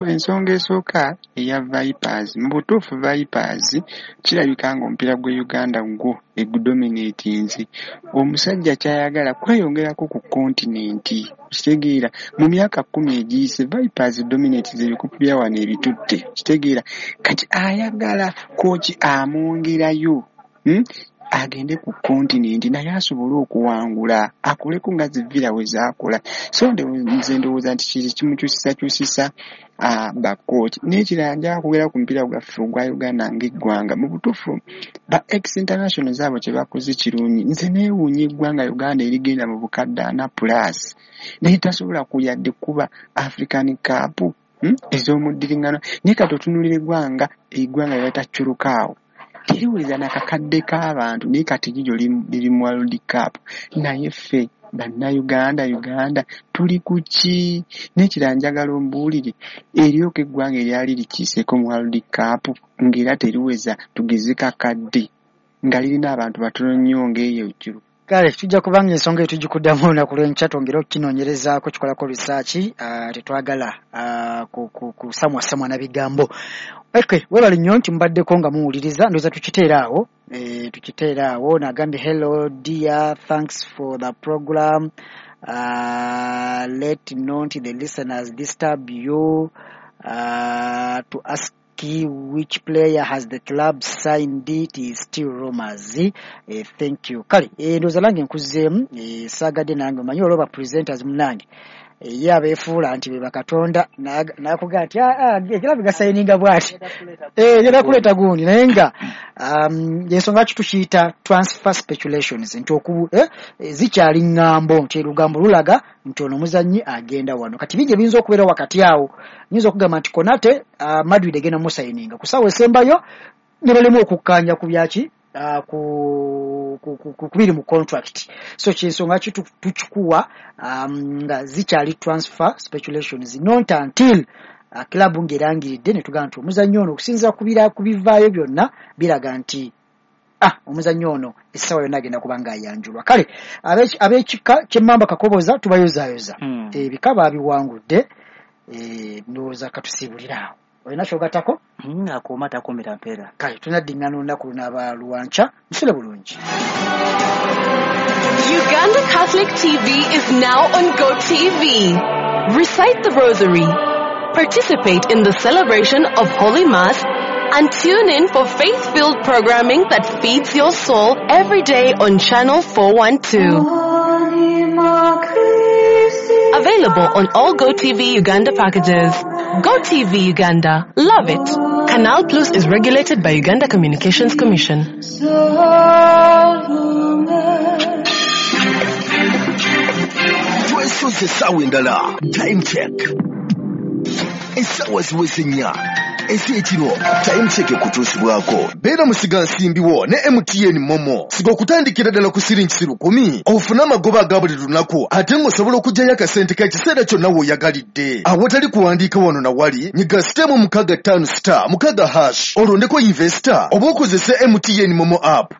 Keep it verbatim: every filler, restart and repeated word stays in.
Ensonga esooka eya Vipers, mu butuufu Vipers kirabika ng'omupiira gw'e Uganda gwo egudominatinze. Omusajja ky'ayagala kweyongerako ku kontinenti, okitegeera? Mu myaka kkumi egiyise Vipers dominatinze ebikopo bya wano ebitutte, okitegeera? Kati ayagala kooki amwongerayo, hmm? agende ku kontinenti naye asobole okuwangula, akoleko nga zi Villa we zaakola. So nze ndowooza nti kiri kimukyusisakyusisa bakooti. N'ekirala, njagala kwogera ku mupiira gwaffe ogwa Uganda ng'eggwanga. Mu butuufu ba ex internationals abo kye bakoze kirungi. Nze neewuunya eggwanga Uganda erigenda mu bukadde ana plus naye tasobola kuyadde kuba African Cup hmm? ez'omuddiringano. Naye kati otunuulira eggwanga eggwanga lye bayita Curacao, teriweza nakakadde k'abantu, naye kati liryo liri mu World Cup. Naye ffe Bannayuganda, Uganda tuli ku ki? N'ekirala, njagala ombuulire, eryoka eggwanga eryali likiiseeko mu World Cup ng'era teriweza tugeze kakadde, nga lirina abantu batono nnyo ng'eyo Kiro. Kale tujja kubanga ensonga eyo tugikuddamu olunaku lw'enkya, twongere okukinoonyerezaako, kikolako research. uh, tetwagala uh, kusamwasamwa na bigambo. Okay, webale nnyo nti mubaddeko nga muwuliriza. Ndowooza tukiteera awo, e, tukiteera awo. Nagambye, "Hello dear, thanks for the program. uh, let not the listeners disturb you uh, to ask which player has the club signed. It is still rumors. eh, thank you." Kale eh, ndowooza nange nkuzeemu. eh, saagadde nange omanyi olwo ba presenters munange ye abeefuula nti be bakatonda, nakugamba nti ekirabu gasayininga bwati, genda kuleeta gundi, naye nga um, ensonga ki tukiyita transfer speculations, nti oku eh, zikyali ŋŋambo, nti olugambo lulaga nti ono omuzannyi agenda wano. Kati bingi ebiyinza okubeera wakati awo. Nyinza okugamba nti Konate, uh, Madrid egenda musayininga ku ssaawa esembayo ne balemu okukkaanya ku byaki, uh, ku ku kubiri mu contract. So kyensonga ki tukikuwa um, nga zikyali transfer speculations, not until uh, club ng'erangiridde ne tugamba nti omuzannyi ono, okusinziira ku bivaayo byonna, biraga nti ah omuzannyi ono essaawa yonna agenda kuba ng'ayanjulwa. Kale ab'ekika ky'emmamba Kakoboza tubayozaayoza, hmm. ebika baabiwangudde. eh, ndowooza katusiibulire awo. Olina kyogatako? hmm, akuuma takuumira mpeera. Kale tunaddiŋŋana olunaku lunaaba lwanca. Musule bulungi. Uganda Catholic T V is now on GoTV. Recite the Rosary, participate in the celebration of Holy Mass, and tune in for faith-filled programming that feeds your soul every day on Channel four one two. Available on all GoTV Uganda packages. GoTV Uganda. Love it. Canal Plus is regulated by Uganda Communications Commission. Twesoze essaawa endala. Time Check, essaawa ziweze nnya ez'ekiro. Time Check ekutuusibwako beera musigansimbi wo ne M T N MoMo. Siga okutandikira ddala ku siringi lukumi ofune amagoba aga buli lunaku, ate ng'osobola okuggyayo akasente k'ekiseera kyonna w'oyagalidde awatali kuwandiika wano na wali. Nyiga star mukaaga ttaano star mukaaga hash, olondeko investor oba okozese M T N MoMo app.